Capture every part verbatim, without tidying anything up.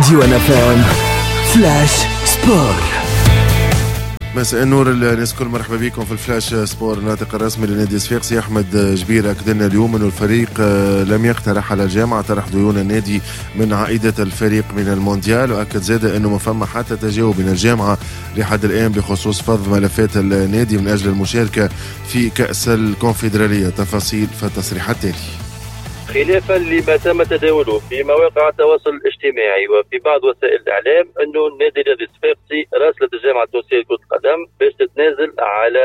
ديوان اف ام flash sport. مساء النور الناس الكل، مرحبا بكم في ال flash sport. الناطق الرسمي لنادي الصفاقسي احمد جبير اكد لنا اليوم انه الفريق لم يقترح على الجامعة طرح ديون النادي من عائدة الفريق من المونديال، واكد زاد انه ما فما حتى تجاوب من الجامعة لحد الان بخصوص فض ملفات النادي من اجل المشاركة في كاس الكونفدراليه. تفاصيل في التصريح التالي. خلافا لما تم تداوله في مواقع التواصل الاجتماعي وفي بعض وسائل الاعلام انه النادي الرياضي الصفاقسي راسلت الجامعة التونسية لكرة القدم باش تتنازل على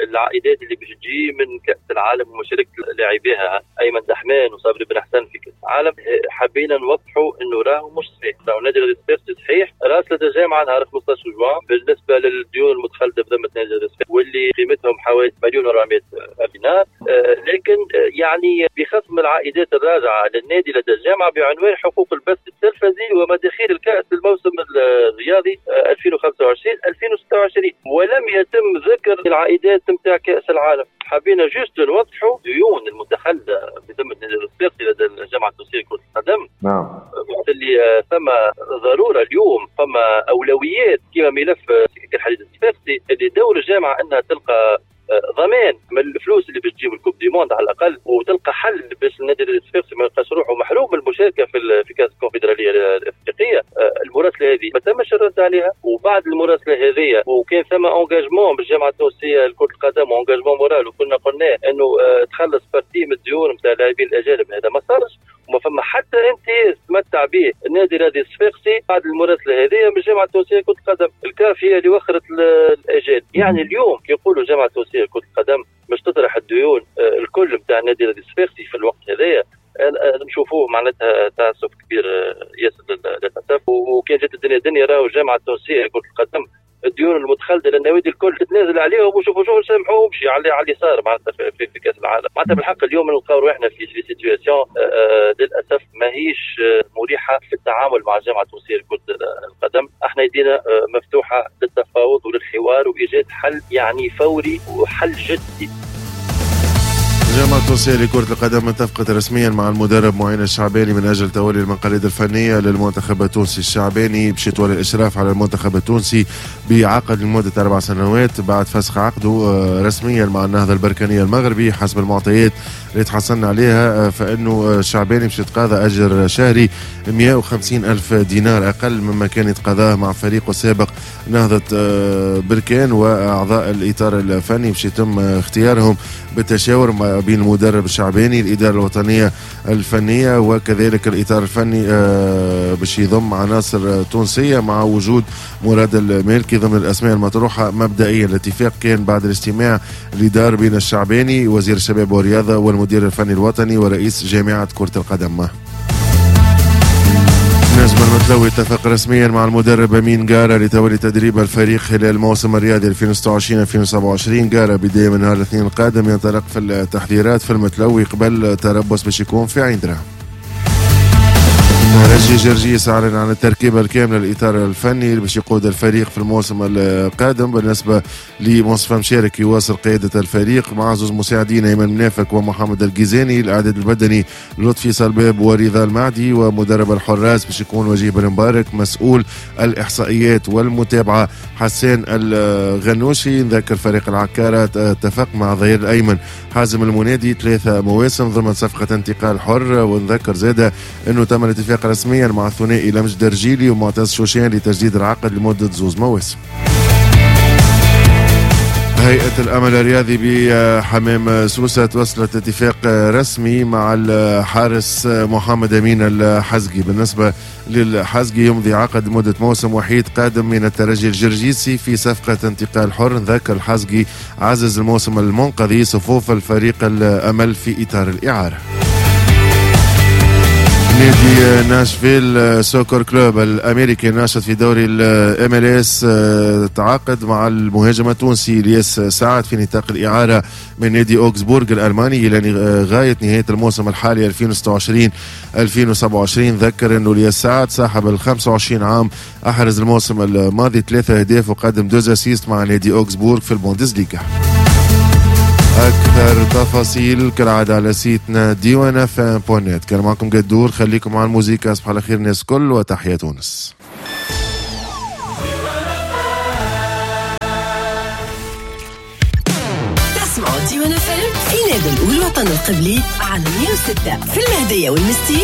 العائدات اللي باش تجي من كاس العالم ومشاركة لاعبيها ايمن دحمان وصابري بن حسن في كاس العالم. حبينا نوضحوا انه راهو مش صحيح، راهو النادي الرياضي الصفاقسي صحيح راسلت الجامعة نهار خمسطاش جوان بالنسبة للديون المتخلده بذمه النادي الرياضي الصفاقسي واللي قيمتهم حوالي مليون وأربعمائة دينار، لكن يعني بخصم العائدات الراجعة للنادي لدى الجامعة بعنوان حقوق البث التلفزي ومداخيل الكأس للموسم الرياضي ألفين وخمسة وعشرين ألفين وستة وعشرين، ولم يتم ذكر العائدات نتاع كأس العالم. حبينا juste نوضحوا ديون المتخلدة بذمة النادي الصفاقسي لدى الجامعة التونسية لكرة القدم. نعم. وقت اللي ثم ضرورة اليوم، فما أولويات كما ملف سكك الحديد الصفاقسي اللي دور الجامعة أنها تلقى ضمان من الفلوس اللي باش تجيب ال coupe du monde على الاقل، وتلقى حل باش النادي الصفاقسي ما يلقاش روحه محروم من المشاركة في في كاس الكونفدراليه الافريقية. المراسله هذه ما تمش الرد عليها، وبعد المراسله هذه وكان ثم engagement بالجامعة التونسية لكرة القدم و engagement moral، وكنا قلنا انه تخلص partie من الديون نتاع اللاعبين الاجانب، هذا ما صارش وما فما حتى امتياز تمتع به النادي الرياضي الصفاقسي بعد المراسله هذه من الجامعة التونسية لكرة القدم. الكاف هي اللي وخرت الاجال. يعني اليوم كي يقولوا الجامعة التونسية كرة القدم مش تطرح الديون الكل نتاع النادي الرياضي الصفاقسي في الوقت هذايا، نشوفوه معناتها تعسف كبير ياسر للاسف. وكان جات الدنيا دنيا راهو الجامعة التونسية لكرة القدم الديون المتخلده للنوادي الكل تتنازل عليهم وشوفوا شوفوا نسامحوهم على على اللي صار معناتها في, في, في كاس العالم. معناتها بالحق اليوم نلقاو روحنا في في situation للاسف ماهيش مريحه في التعامل مع الجامعة التونسية لكرة القدم. احنا يدينا مفتوحة للتفاوض وللحوار وايجاد حل يعني فوري وحل جدي. الجامعة التونسية لكرة القدم اتفقت رسميا مع المدرب معين الشعباني من أجل تولي المقاليد الفنية للمنتخب التونسي. الشعباني باش يتولي الإشراف على المنتخب التونسي بعقد لمدة أربع سنوات بعد فسخ عقده رسميا مع النهضة البركانية المغربي. حسب المعطيات اللي تحصلنا عليها فإنه الشعباني باش يتقاضى أجر شهري مئة وخمسين ألف دينار أقل مما كان يتقاضاه مع فريقه السابق نهضة بركان، وأعضاء الإطار الفني باش يتم اختيارهم بالتشاور مع بين المدرب الشعباني، الإدارة الوطنية الفنية، وكذلك الإطار الفني باش يضم عناصر تونسية مع وجود مراد المالكي ضمن الأسماء المطروحة مبدئيا. الاتفاق كان بعد الاجتماع اللي دار بين الشعباني وزير الشباب والرياضة والمدير الفني الوطني ورئيس جامعة كرة القدم. نجم المتلوي اتفق رسميا مع المدرب أمين جارة لتولي تدريب الفريق خلال الموسم الرياضي ألفين وستة وعشرين ألفين وسبعة وعشرين. جارة بداية من نهار الاثنين القادم ينطلق في التحضيرات في المتلوي قبل تربص باش يكون في عين دراهم. رجي جرجيس أعلن عن التركيبة الكاملة للإطار الفني باش يقود الفريق في الموسم القادم. بالنسبة لمصطفى مشارك يواصل قيادة الفريق مع زوج مساعدين أيمن منافك ومحمد الجيزاني، الإعداد البدني لطفي صلباب ورضا المعدي، ومدرب الحراس باش يكون وجيه بن مبارك، مسؤول الإحصائيات والمتابعة حسان الغنوشي. نذكر فريق العكارة اتفق مع ظهير الأيمن حازم المنادي ثلاثة مواسم ضمن صفقة انتقال حر، ونذكر زادة أنه تم الاتفاق رسميا مع الثنائي لمجد درجيلي ومعتز شوشان لتجديد العقد لمدة زوز مواسم. هيئة الأمل الرياضي بحمام سوسة توصلت اتفاق رسمي مع الحارس محمد أمين الحزقي. بالنسبة للحزقي يمضي عقد مدة موسم وحيد قادم من الترجي الجرجيسي في صفقة انتقال حر. نذكر الحزقي عزز الموسم المنقضي صفوف الفريق الأمل في إطار الإعارة. نادي ناشفيل سوكر كلوب الامريكي الناشط في دوري ال MLS تعاقد مع المهاجم التونسي الياس سعد في نطاق الاعارة من نادي اوكسبورغ الالماني الى غاية نهاية الموسم الحالي ألفين وستة وعشرين ألفين وسبعة وعشرين. ذكر انه الياس سعد صاحب ال خمسة وعشرين عام احرز الموسم الماضي ثلاثة اهداف وقدم deux assists مع نادي اوكسبورغ في البوندسليغا. أكثر تفاصيل كالعادة على site نا ديوان FM point net. كان معكم قدور، خليكم مع الموزيكا. صباح على خير الناس كل وتحيا تونس. تسمعوا ديوان FM في نابل والوطن القبلي على مية وستة، في المهدية والمستير.